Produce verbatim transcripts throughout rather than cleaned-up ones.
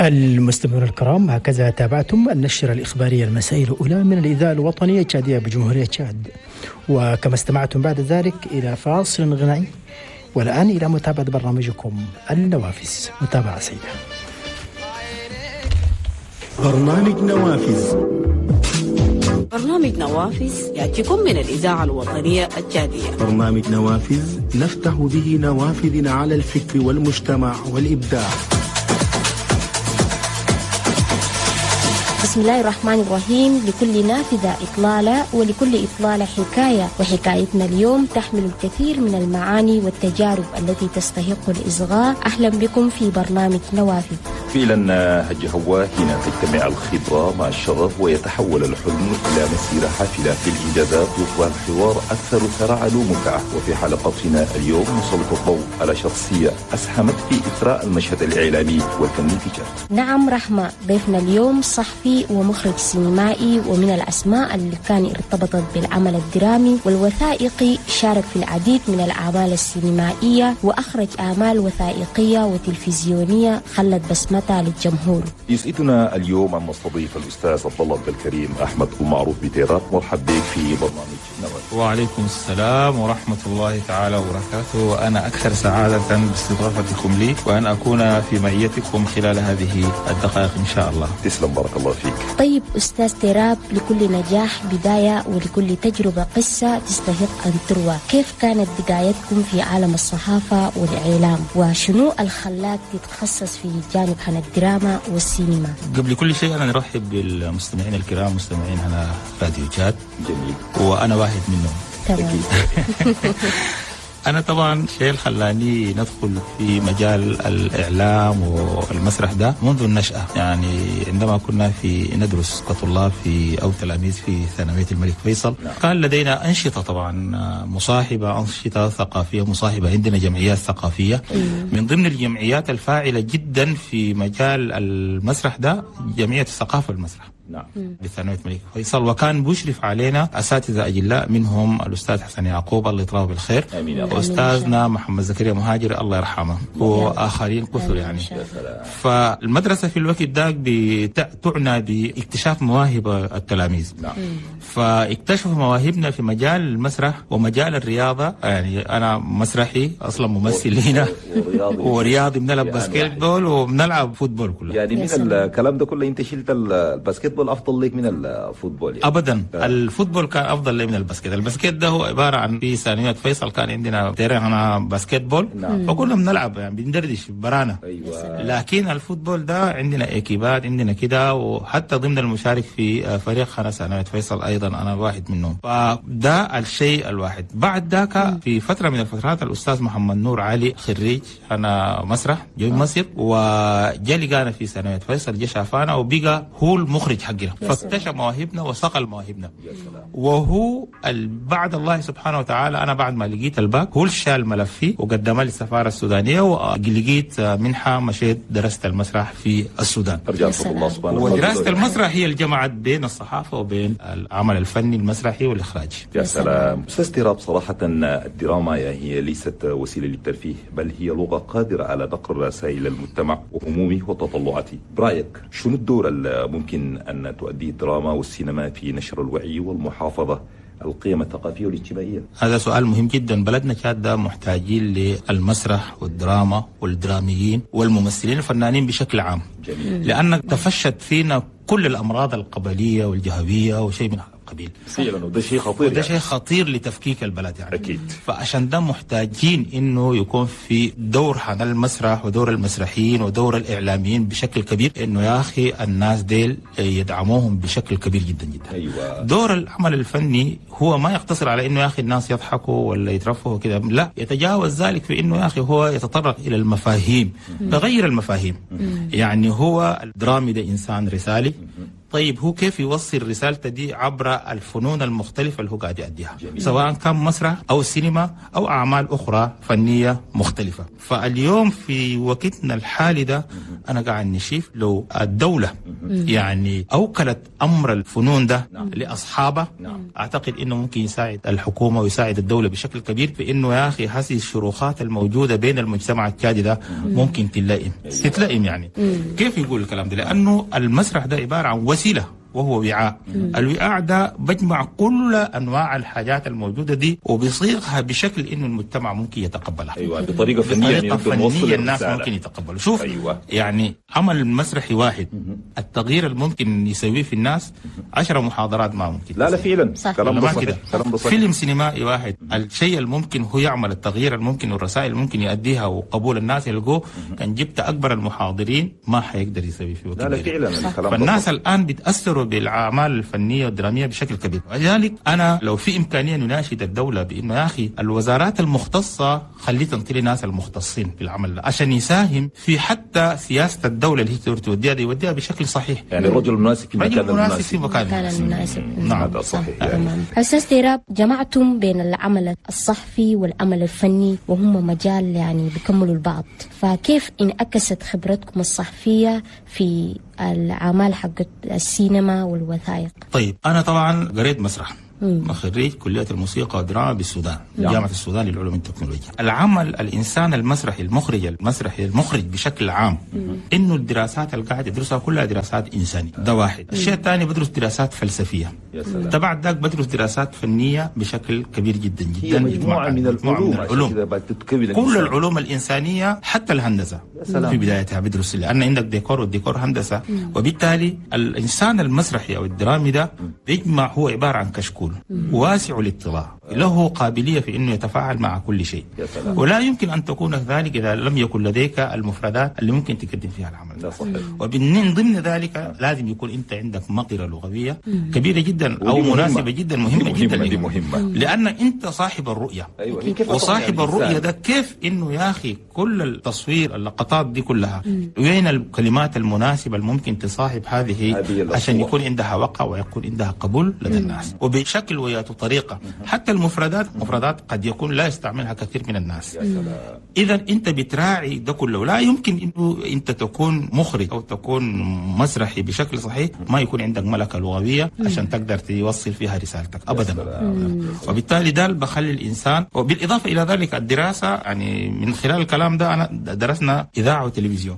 المستمعون الكرام، هكذا تابعتم النشرة الإخبارية المسائية الأولى من الإذاعة الوطنية التشادية بجمهورية تشاد، وكما استمعتم بعد ذلك إلى فاصل غنائي، والآن إلى متابعة برنامجكم النوافذ. متابعة سيدة. برنامج نوافذ. برنامج نوافذ يأتيكم من الإذاعة الوطنية التشادية. برنامج نوافذ نفتح به نوافذنا على الفكر والمجتمع والإبداع. بسم الله الرحمن الرحيم. لكل نافذة إطلالة، ولكل إطلالة حكاية، وحكايتنا اليوم تحمل الكثير من المعاني والتجارب التي تستحق الإصغاء. أهلا بكم في برنامج نوافذ. فعلا هج هوا، هنا تجتمع الخبرة مع الشغف ويتحول الحلم إلى مسيرة حافلة في الإنجازات، يصبح الحوار أكثر ثراء ومتعة. وفي حلقتنا اليوم نسلط الضوء على شخصية أسهمت في إثراء المشهد الإعلامي والفني في تشاد. نعم رحمة، ضيفنا اليوم صحفي ومخرج سينمائي، ومن الأسماء اللي كان ارتبطت بالعمل الدرامي والوثائقي، شارك في العديد من الأعمال السينمائية وأخرج أعمال وثائقية وتلفزيونية خلت بصمتها للجمهور. يسعدنا اليوم أن نستضيف الأستاذ عبد الله عبد الكريم أحمد المعروف بتيراب. مرحب بك في برنامج نوافذ. وعليكم السلام ورحمة الله تعالى وبركاته، وأنا أكثر سعادة باستضافتكم لي وأن أكون في معيتكم خلال هذه الدقائق إن شاء الله. تسلم، بارك الله فيك. طيب أستاذ تيراب، لكل نجاح بداية ولكل تجربة قصة تستحق أن تروى. كيف كانت بدايتكم في عالم الصحافة والإعلام، وشنو الخلاك تتخصص في جانب عن الدراما والسينما؟ قبل كل شيء أنا نرحب بالمستمعين الكرام، مستمعين على راديو تشاد. جميل، وأنا واحد منهم. تمام. أنا طبعا شيء خلاني ندخل في مجال الإعلام والمسرح ده منذ النشأة، يعني عندما كنا في ندرس كطلاب في أو تلاميذ في ثانوية الملك فيصل، كان لدينا أنشطة طبعا مصاحبة، أنشطة ثقافية مصاحبة، عندنا جمعيات ثقافية. من ضمن الجمعيات الفاعلة جدا في مجال المسرح ده جمعية الثقافة والمسرح. نعم. بثانوية الملك فيصل، وكان بيشرف علينا أساتذة أجلاء، منهم الأستاذ حسن يعقوب الله يطراه بالخير، وأستاذنا محمد زكريا مهاجر الله يرحمه، وآخرين كثر يعني. فالمدرسة في الوقت ذاك تعنى باكتشاف مواهب التلاميذ. نعم. فاكتشفوا مواهبنا في مجال المسرح ومجال الرياضة. يعني أنا مسرحي أصلا، ممثل هنا ورياضي, ورياضي بنلعب basketball وبنلعب football كله. يعني من الكلام ده كله أنت شلت ال basketball افضل لك من ال football يعني. ابدا. آه. ال football كان افضل لي من ال basket. ال basket ده هو عبارة عن في ثانوية فيصل كان عندنا terrain basketball. نعم. فكنا بنلعب يعني بندردش برانا. أيوة. لكن ال football ده عندنا اكيبات عندنا كده، وحتى ضمن المشارك في فريق خنا ثانوية فيصل ايضا انا واحد منهم. فده الشيء الواحد. بعد ذاك في فترة من الفترات الاستاذ محمد نور علي خريج انا مسرح جاي مصر، وجا لقانا في ثانوية فيصل، جا شافانا وبقى هو المخرج حقنا، فاكتشف مواهبنا وصقل مواهبنا. وهو بعد الله سبحانه وتعالى انا بعد ما لقيت الباك هو شال ملفي وقدمه للسفاره السودانية، ولقيت منحه مشيت درست المسرح في السودان. ارجع الله سبحانه وتعالى. ودراسة المسرح هي اللي جمعت بين الصحافة وبين العمل الفني المسرحي والاخراجي. يا سلام. استاذ تيراب، صراحة الدراما هي ليست وسيلة للترفيه، بل هي لغة قادرة على نقل رسائل المجتمع وهمومه وتطلعاته. برايك شنو الدور الممكن أن تؤديه الدراما والسينما في نشر الوعي والمحافظة القيم الثقافية والاجتماعية؟ هذا سؤال مهم جدا. بلدنا تشاد ده محتاجين للمسرح والدراما والدراميين والممثلين الفنانين بشكل عام. جميل. لأن تفشت فينا كل الأمراض القبلية والجهوية وشيء من هذا القبيل. فعلا، وده شيء خطير. وده شيء خطير لتفكيك البلد يعني. أكيد. فعشان ده محتاجين إنه يكون في دور حنا المسرح ودور المسرحيين ودور الإعلاميين بشكل كبير، إنه يا أخي الناس ديل يدعموهم بشكل كبير جدا جدا. أيوة. دور العمل الفني هو ما يقتصر على إنه يا أخي الناس يضحكوا ولا يترفهوا كده، لا، يتجاوز ذلك في إنه يا أخي هو يتطرق إلى المفاهيم، بغير المفاهيم. مم. يعني هو الدرامي ده إنسان رسالي. طيب هو كيف يوصل رسالته دي عبر الفنون المختلفة اللي هو قاعد يأديها، سواء كان مسرح أو سينما أو أعمال أخرى فنية مختلفة. فاليوم في وقتنا الحالي ده أنا قاعد نشوف لو الدولة يعني أوكلت أمر الفنون ده نعم. لأصحابه، نعم. أعتقد إنه ممكن يساعد الحكومة ويساعد الدولة بشكل كبير في إنه يا أخي هذه الشروخات الموجودة بين المجتمع التشادي ده ممكن تلائم تتلائم يعني. كيف يقول الكلام ده؟ لأنه المسرح ده عبارة عن وسيلة وهو وعاء. الوعاء ده بجمع كل أنواع الحاجات الموجودة دي وبيصيغها بشكل إنه المجتمع ممكن يتقبلها. أيوة، بطريقة فنية، بطريقة يعني فنية الناس ممكن يتقبلوا. شوف أيوة. يعني عمل مسرحي واحد التغيير الممكن يسويه في الناس عشرة محاضرات ما ممكن. لا لا فعلا كلام ده صحيح. كلام ده صحيح. فيلم سينمائي واحد الشيء الممكن هو يعمل التغيير الممكن والرسائل الممكن يؤديها وقبول الناس يلقوه، كان جبت أكبر المحاضرين ما حيقدر يسوي فيه. لا لا فعلا الكلام. فالناس الآن بيتأثروا بالأعمال الفنية والدرامية بشكل كبير. ولذلك أنا لو في إمكانية نناشد الدولة بإنه يا أخي الوزارات المختصة خلي تنطي ناس المختصين في العمل عشان يساهم في حتى سياسة الدولة اللي هي توديها دي يوديها بشكل صحيح. يعني الرجل المناسب في المكان المناسب في مكان المناسب. نعم هذا صحيح. يعني أستاذ تيراب، جمعتم بين العمل الصحفي والعمل الفني وهم مجال يعني بيكملوا البعض، فكيف انعكست خبرتكم الصحفية في الأعمال حق السينما والوثائق؟ طيب أنا طبعا قريت مسرح، خريج كلية الموسيقى والدراما بالسودان، جامعة السودان للعلوم والتكنولوجيا. العمل الإنسان المسرحي المخرج المسرحي المخرج بشكل عام إنه الدراسات اللي قاعد يدرسها كلها دراسات إنسانية، ده واحد. الشيء الثاني بدرس دراسات فلسفية، تبع ذاك بدرس دراسات فنية بشكل كبير جدا جدا. هي مجموعة من العلوم, العلوم. كل العلوم الإنسانية حتى الهندسة في بدايتها بدرس، لأن عندك ديكور والديكور هندسة. مم. وبالتالي الإنسان المسرحي أو الدرامي ده بيجمع، هو عبارة عن كشكول واسع الاطلاع، له قابلية في أنه يتفاعل مع كل شيء، ولا يمكن أن تكون ذلك إذا لم يكن لديك المفردات اللي ممكن تقدم فيها العمل. ده صحيح. ومن ضمن ذلك لازم يكون أنت عندك مقدرة لغوية كبيرة جدا أو مناسبة جدا، مهمة جدا، دي مهمة لأن أنت صاحب الرؤية. أيوة. وصاحب الرؤية ده كيف إنه يا أخي كل التصوير اللقطات دي كلها وين الكلمات المناسبة الممكن تصاحب هذه عشان يكون عندها وقع ويكون عندها قبول لدى الناس وبشكل وياته طريقة. حتى المفردات مفردات قد يكون لا يستعملها كثير من الناس. إذا أنت بتراعي ده كله. لا يمكن إنه أنت تكون مخرج أو تكون مسرحي بشكل صحيح ما يكون عندك ملكة لغوية عشان تقدر توصل فيها رسالتك أبدا. وبالتالي ده بخلي الإنسان. وبالإضافة إلى ذلك الدراسة، يعني من خلال الكلام ده أنا درسنا إذاعة وتلفزيون.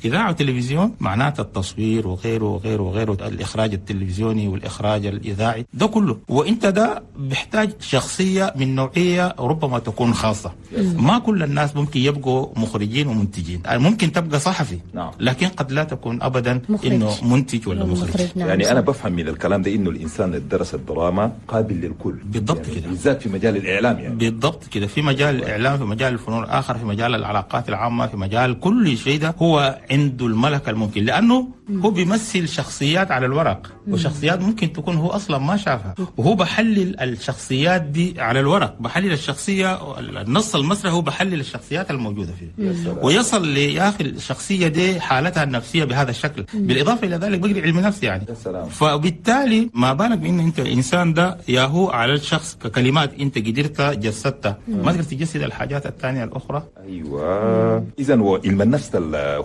إذاعة وتلفزيون معناته التصوير وغيره وغيره وغيره، الإخراج التلفزيوني والإخراج الإذاعي ده كله. وإنت ده بيحتاج شخصية من نوعية ربما تكون خاصة. ما كل الناس ممكن يبقوا مخرجين ومنتجين، ممكن تبقى صحفي لكن قد لا تكون أبدا إنه منتج ولا مخرج. نعم. يعني أنا بفهم من الكلام ده إنه الإنسان اللي درس الدراما قابل للكل. بالضبط يعني كده، بالذات في مجال الإعلام يعني. بالضبط كده، في مجال الإعلام، في مجال الفنون الآخر، في مجال العلاقات العامة، في مجال كل شيء ده هو عنده الملكة الممكن، لأنه هو بيمثل شخصيات على الورق وشخصيات ممكن تكون هو أصلا ما شافها، وهو بحلل الشخصيات دي على الورق، بحلل الشخصية النص المسرحي، هو بحلل الشخصيات الموجودة فيه ويصل ليا أخي الشخصية دي حالتها النفسية بهذا الشكل. بالإضافة إلى ذلك بقري علم نفس يعني. فبالتالي ما بالك بأن أنت الإنسان ده يا هو على الشخص ككلمات أنت قدرت جسدتها، ما تقدر تجسد الحاجات الثانية الأخرى. أيوة، إذا هو علم النفس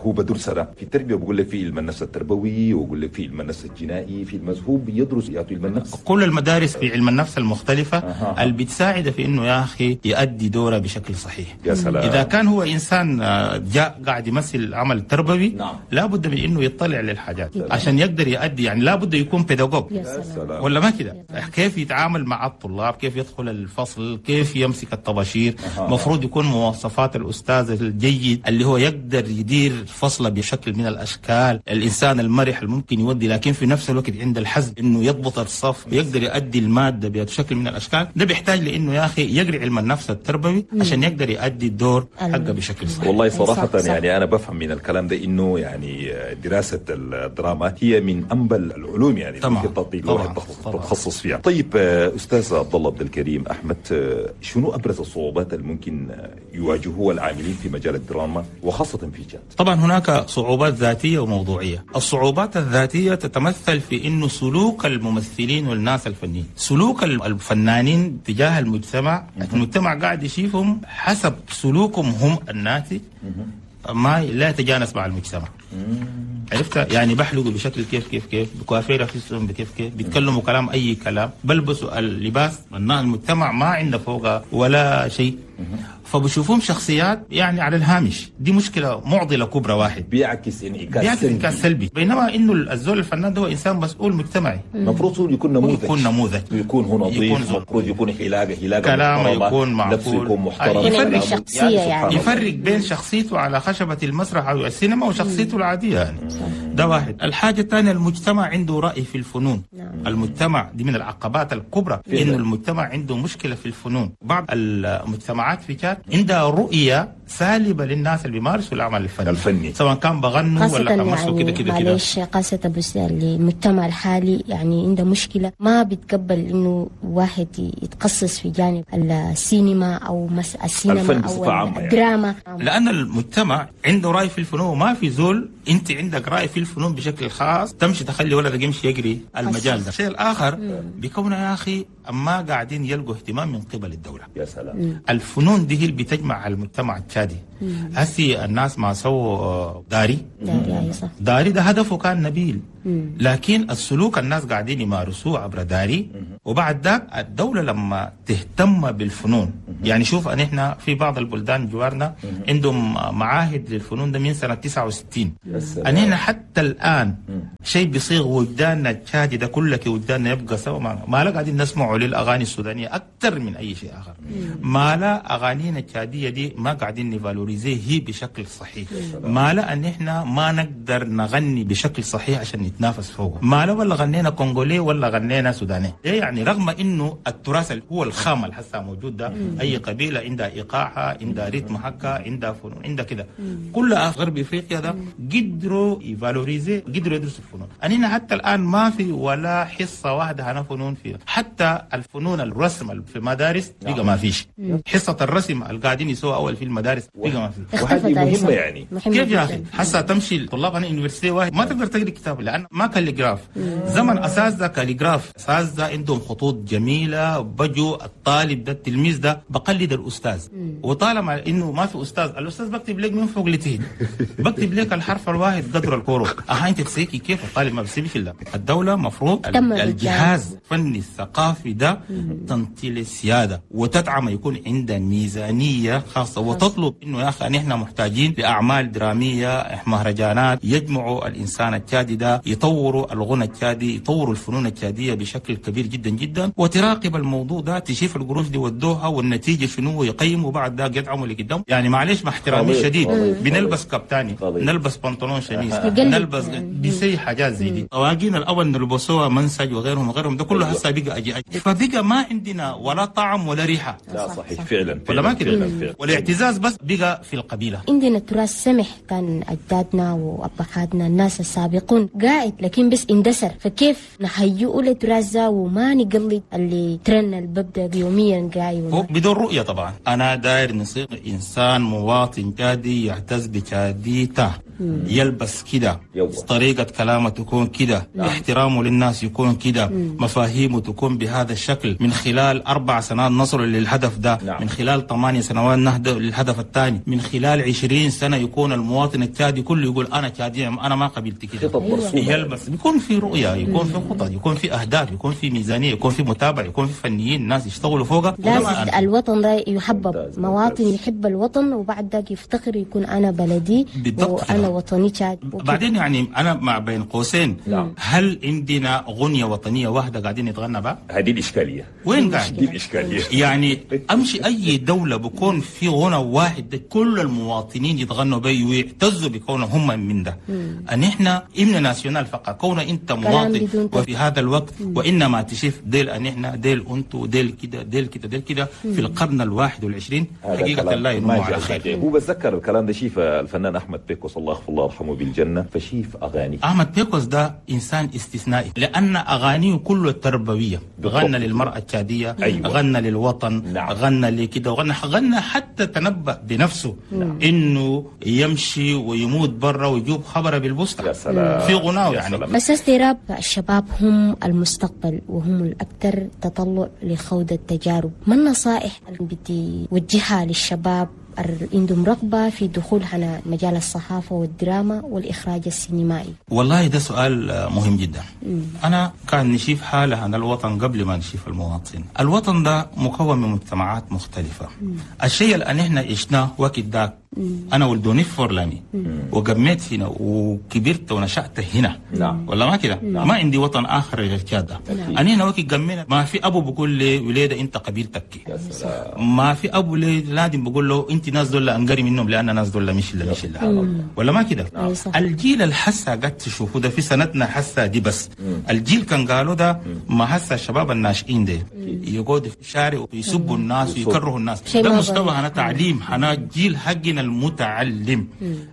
هو بدرس ده في التربية، بقول لك في علم النفس التربوي، وبقول لك في علم النفس الجنائي، في المذهوب يدرس يعطي علم النفس. كل المدارس في علم النفس المختلفة أه. اللي بتساعد في إنه يا أخي يؤدي دوره بشكل صحيح. يا سلام. إذا كان هو إنسان جاء قاعد يمثل عمل تربوي، نعم، لابد من إنه يطلع للحاجات عشان يقدر يؤدي، يعني لابد يكون بيداغوج ولا ما كده؟ كيف يتعامل مع الطلاب، كيف يدخل الفصل، كيف يمسك الطباشير، مفروض يكون مواصفات الأستاذ الجيد اللي هو يقدر يدير فصله بشكل من الأشكال، الإنسان المرح اللي ممكن يودي لكن في نفس الوقت عند الحزم إنه يضبط الصف ويقدر يؤدي المادة بشكل من الأشكال. ده بيحتاج لإنه يا أخي يقرأ علم النفس التربوي عشان يقدر يؤدي الدور حقه بشكل صحيح. والله صراحة يعني أنا بفهم من الكلام ده إنه يعني دراسة الدراما هي من أنبل العلوم يعني طبعا طبعا تتخصص فيها. طيب أستاذ عبد الله عبد الكريم أحمد، شنو أبرز الصعوبات اللي ممكن يواجهوها العاملين في مجال الدراما وخاصة في تشاد؟ طبعا هناك صعوبات ذاتية وموضوعية. الصعوبات الذاتية تتمثل في إنه سلوك الممثلين والناس الفنيين، سلوك الفنانين تجاه المجتمع، المجتمع قاعد يشوفهم حسب سلوكهم هم الناتج ما لا يتجانس مع المجتمع. عرفت يعني بحلقوا بشكل كيف كيف كيف، بكوافير نفسهم بكيف كيف، بيتكلموا كلام اي كلام، بلبسوا اللباس المجتمع ما عنده فوقه ولا شيء، فبشوفهم شخصيات يعني على الهامش. دي مشكلة معضلة كبرى. واحد بيعكس انعكاس بيعكس انعكاس سلبي، بينما انه الزول الفنان ده هو انسان مسؤول مجتمعي، المفروض يكون نموذج، يكون نموذج، يكون هو نظيف، المفروض يكون حلاقه حلاقه كلامه يكون معقول، لبسه يكون محترم، يفرق شخصية يعني يفرق بين شخصيته على خشبه المسرح او السينما وشخصيته العادية يعني. ده واحد. الحاجة الثانية المجتمع عنده راي في الفنون. نعم. المجتمع دي من العقبات الكبرى، انه المجتمع عنده مشكلة في الفنون. بعض المجتمعات في تشاد عندها رؤية سالبة للناس اللي بيمارسوا العمل الفني. الفني سواء كان بغنوا ولا كان مارسوا كده كده كده. معلش قاسة بس المجتمع الحالي يعني عنده مشكلة، ما بيتقبل إنه واحد يتخصص في جانب السينما أو مس السينما أو الدراما يعني. لأن المجتمع عنده رأي في الفنون، ما في زول أنت عندك رأي في الفنون بشكل خاص تمشي تخلي ولدك يمشي يجري المجال ده. الشيء الآخر بيكون يا أخي ما قاعدين يلقوا اهتمام من قبل الدولة. يا سلام. الفنون دي هي اللي بتجمع المجتمع التشادي. هسي الناس ما سووا داري داري, صح. داري ده هدفه كان نبيل، مم. لكن السلوك الناس قاعدين يمارسوه عبر داري. وبعد ذاك الدولة لما تهتم بالفنون، يعني شوف ان احنا في بعض البلدان جوارنا عندهم معاهد للفنون ده من سنة تسعة وستين، ان احنا حتى الآن شيء بيصيغ وجداننا التشادي ده كله وجداننا يبقى سوا. ما, ما لا قاعدين نسمعوا للأغاني السودانية أكثر من أي شيء آخر، ما لا أغانينا التشادية دي ما قاعدين ن valoriser هي بشكل صحيح، ما لا ان احنا ما نقدر نغني بشكل صحيح عشان نتنافس فوقه، ما لا ولا غنينا كونغولي ولا غنينا سوداني. إيه يعني رغم انه التراث اللي هو الخام اللي هسه موجود ده، اي قبيلة عندها ايقاعها، عندها rythme حقها، عندها فنون، عندها كده، كل غرب افريقيا ده قدروا ي valoriser، قدروا يدرسوا الفنون. اننا حتى الان ما في ولا حصة واحدة هنا فنون فيها، حتى الفنون الرسم في المدارس بقى ما فيش حصة الرسم اللي قاعدين يسووا اول في المدارس بقى ما في. وهذه مهمة يعني. كيف يا اخي حتى تمشي الطلاب انا université واحد ما تقدر تقري كتاب لان ما calligraphe. زمن اساس ده calligraphe، اساس ده عندهم خطوط جميلة، بجوا الطالب ده التلميذ ده بقلد الاستاذ، وطالما انه ما في استاذ، الاستاذ بكتب لك من فوق لتحت، بكتب لك الحرف الواحد قدر الكورو، اها انت تسيكي كيف الطالب ما بيسيبش الا الدولة مفروض الجهاز الفني الثقافي ده تنطي السيادة وتدعم، يكون عندها ميزانية خاصة، وتطلب انه يا اخي نحن محتاجين لاعمال درامية، مهرجانات يجمعوا الانسان التشادي ده، يطوروا الغنى التشادي، يطوروا الفنون التشاديه بشكل كبير جدا جدا، وتراقب الموضوع ده، تشوف القروش دي ودوها والنتيجة شنو، ويقيموا بعد ده يدعموا اللي قدام. يعني معلش مع احترامي الشديد، بنلبس كابتاني، نلبس بنطلون شميس، نلبس بيسي حاجات زي دي، طواقينا الاول نلبسوها منسج وغيرهم وغيرهم، ده كله هسه بقى اجي أجي. فبقى ما عندنا ولا طعم ولا ريحه. لا صحيح فعلا، ولا ما كده، والاعتزاز بس بقى في القبيلة. عندنا تراث سمح كان اجدادنا وابهاتنا الناس السابقون قاعد، لكن بس اندثر، فكيف نهيئه للتراث ده وما نقلد اللي ترن اللي ببدا يوميا قاعد بدون رؤية؟ طبعا انا داير نصير انسان مواطن تشادي يعتز بتشاديته، يلبس كده، طريقة كلامه تكون كده، احترامه للناس يكون كده، مفاهيمه تكون بهذا الشكل. من خلال أربع سنوات نصل للهدف ده، نعم. من خلال ثمانية سنوات نهدف للهدف الثاني، من خلال عشرين سنة يكون المواطن التشادي كله يقول أنا تشادي، أنا ما قبلت كده. يلبس، يكون في رؤية، يكون في خطط، يكون في أهداف، يكون في ميزانية، يكون في متابعة، يكون في فنيين ناس يشتغلوا فوقها. لازم الوطن ده يحبب، مواطن يحب الوطن وبعد ذاك يفتخر يكون أنا بلدي وأنا وطني تشاد. بعدين يعني أنا مع بين قوسين، لا. هل عندنا غنية وطنية واحدة قاعدين نتغنى بها؟ هذه الإشكالية. وين قاعد؟ دي الإشكالية. يعني أمشي أي دولة بكون في غنى واحد ده كل المواطنين يتغنوا به ويعتزوا بكونهم هم من ده. أن إحنا hymne national فقط، كون أنت مواطن وفي هذا الوقت، وإنما تشوف ديل أن إحنا ديل أنتو ديل كده ديل كده ديل كده في القرن الواحد والعشرين حقيقة لا ينمو على خير. هو بتذكر الكلام ده شيف الفنان أحمد بيكوس الله يغفر الله يرحمه بالجنة، فشيف أغاني أحمد بيكوس ده إنسان استثنائي لأن أغانيه كله تربوية، غنى للمرأة التشادية، أيوة. غنى للوطن، نعم. غنى لكده، وغنى غنى حتى تنبأ بنفسه، نعم. إنه يمشي ويموت برا ويجيب خبره بالبوسطة. يا سلام. في غناه يعني. بس استيراب الشباب هم المستقبل وهم الأكثر تطلع لخوض التجارب، ما النصائح اللي بدي وجهها للشباب عندهم رغبة في دخول هنا مجال الصحافة والدراما والإخراج السينمائي؟ والله ده سؤال مهم جدا. مم. أنا كان نشيف حالة عن الوطن قبل ما نشيف المواطن. الوطن ده مكون من مجتمعات مختلفة. مم. الشيء اللي احنا عشناه وقت داك، أنا ولدوني في فورلامي وقميت هنا وكبرت ونشأت هنا. نعم. ولا ما كده؟ ما عندي وطن آخر غير كده. أنا هنا وقت قمينا ما في أبو بقول لي وليدة أنت قبيلتك، ما في أبو لي لادم بقول له أنت ناس دول أنقري منهم لأن ناس دول مش إلا مش إلا. ولا ما كده؟ الجيل الحسا قد تشوفوا ده في سنتنا حسا دي بس. مم. الجيل كان قالوا ده ما حسا الشباب الناشئين ده يقعدوا في الشارع ويسبوا الناس ويكرهوا الناس. ده مستوى هنا تعليم، هنا جيل حقنا المتعلم.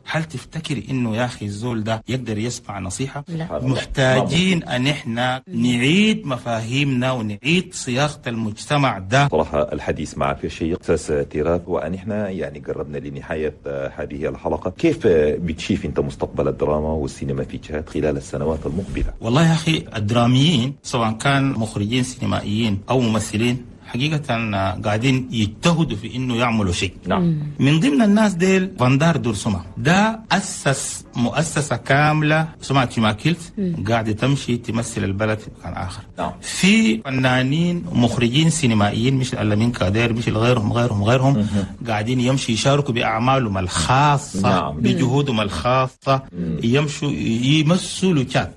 هل تفتكر انه يا اخي الزول ده يقدر يسمع نصيحة؟ لا. محتاجين ان احنا نعيد مفاهيمنا ونعيد صياغة المجتمع ده. صراحة الحديث معك يا شيخ أستاذ تيراب، وان احنا يعني قربنا لنهاية هذه الحلقة. كيف بتشيف انت مستقبل الدراما والسينما في تشاد خلال السنوات المقبلة؟ والله يا اخي الدراميين سواء كان مخرجين سينمائيين او ممثلين حقيقة قاعدين يجتهدوا في إنه يعملوا شيء. نعم. من ضمن الناس ديل فاندار دورسوما، ده أسس مؤسسة كاملة سمعت تيماكيلت قاعدة تمشي تمثل البلد في مكان آخر. نعم. في فنانين ومخرجين سينمائيين مش الألمين كادير مش غيرهم غيرهم غيرهم قاعدين يمشي يشاركوا بأعمالهم الخاصة. نعم. بجهودهم الخاصة. مم. يمشوا يمثلوا تشاد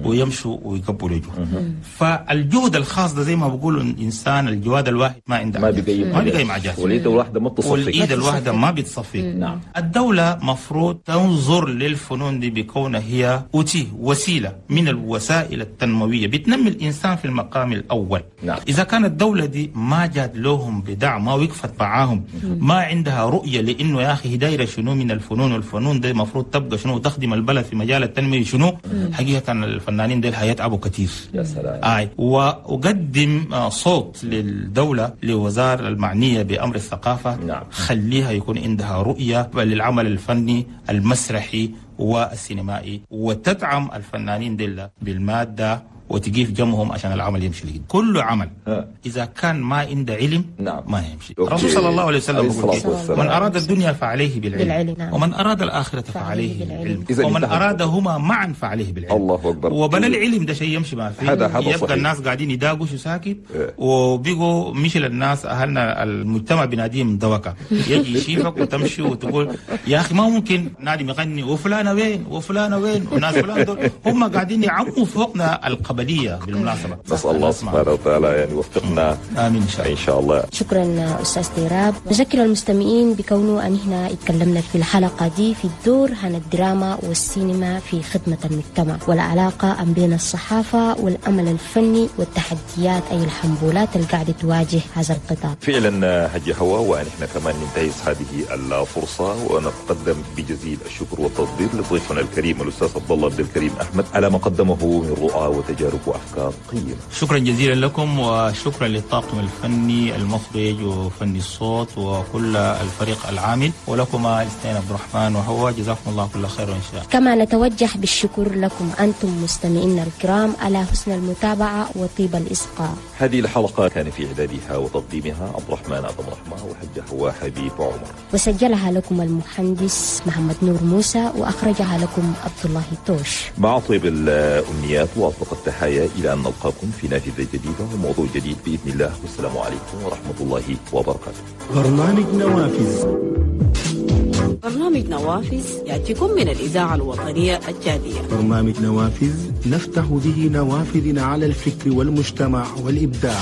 ويمشوا ويقبلوا جهد. فالجهد الخاص ده زي ما بقولوا الانسان الجواد الواحد ما عنده ما بيقيم ما بيقيم عجاز، والايد الواحدة ما بتصفق، والايد الواحدة ما بتصفق. نعم. الدولة مفروض تنظر للفنون دي بكونها هي أوتي وسيلة من الوسائل التنموية بتنمي الانسان في المقام الاول. نعم. اذا كانت الدولة دي ما جات لهم بدعم، ما وقفت معاهم، ما عندها رؤية لانه يا اخي دايرة شنو من الفنون، والفنون دي مفروض تبقى شنو وتخدم البلد في مجال التنمية شنو، حقيقة الفنانين ديل حيتعبوا كثير. يا سلام. آي. وأقدم صوت للدولة لوزارة المعنية بأمر الثقافة. نعم. خليها يكون عندها رؤية للعمل الفني المسرحي والسينمائي، وتدعم الفنانين ديل بالمادة وتقيف جنبهم عشان العمل يمشي لقدام. كل عمل ها. إذا كان ما عنده علم. نعم. ما يمشي. الرسول صلى الله عليه وسلم يقول من أراد الدنيا فعليه بالعلم, بالعلم. نعم. ومن أراد الآخرة فعليه بالعلم, بالعلم. ومن أرادهما معا فعليه بالعلم. الله أكبر. وبلا العلم ده شيء يمشي ما فيه. هذا هذا يبقى صحيح. الناس قاعدين يداقوا شو ساكت إيه. وبيقوا مش للناس أهلنا المجتمع بناديهم دوكة يجي يشيفك وتمشي وتقول يا أخي ما ممكن نادي يغني وفلانة وين وفلانة وين وناس فلان دول هم قاعدين يعموا فوقنا القبلية بالمناسبة. نسأل الله سبحانه وتعالى يعني يوفقنا. آمين إن شاء الله. إن شاء الله. شكرا أستاذ تيراب. نذكر المستمعين بكونه أن هنا اتكلمنا في الحلقة دي في الدور عن الدراما والسينما في خدمة المجتمع والعلاقة بين الصحافة والأمل الفني والتحديات أي الحنبولات اللي قاعدة تواجه هذا القطاع. فعلا هجي هوا، ونحن كمان ننتهز هذه الفرصة ونتقدم بجزيل الشكر والتقدير لضيفنا الكريم الأستاذ عبد الله عبد الكريم أحمد على ما قدمه من رؤى وتجارب وأفكار قيمة. شكرا جزيلا لكم، وشكرا للطاقم الفني المخرج وفني الصوت وكل الفريق العامل، ولكما الاثنين عبد الرحمن وهو، جزاكم الله كل خير إن شاء الله. كما نتوجه بالشكر لكم أنتم مستمعينا الكرام على حسن المتابعة وطيب الإصغاء. هذه الحلقة كان في إعدادها وتقديمها عبد الرحمن عبد الرحمن وحجة هو حبيب عمر، وسجلها لكم المهندس محمد نور موسى، وأخرجها لكم عبد الله توش. مع طيب الأمنيات وأطلق التحايا إلى أن نلقاكم في نافذة جديدة وموضوع جديد بإذن الله، والسلام عليكم ورحمة الله وبركاته. برنامج نوافذ. برنامج نوافذ يأتيكم من الإذاعة الوطنية التشادية. برنامج نوافذ نفتح به نوافذنا على الفكر والمجتمع والإبداع.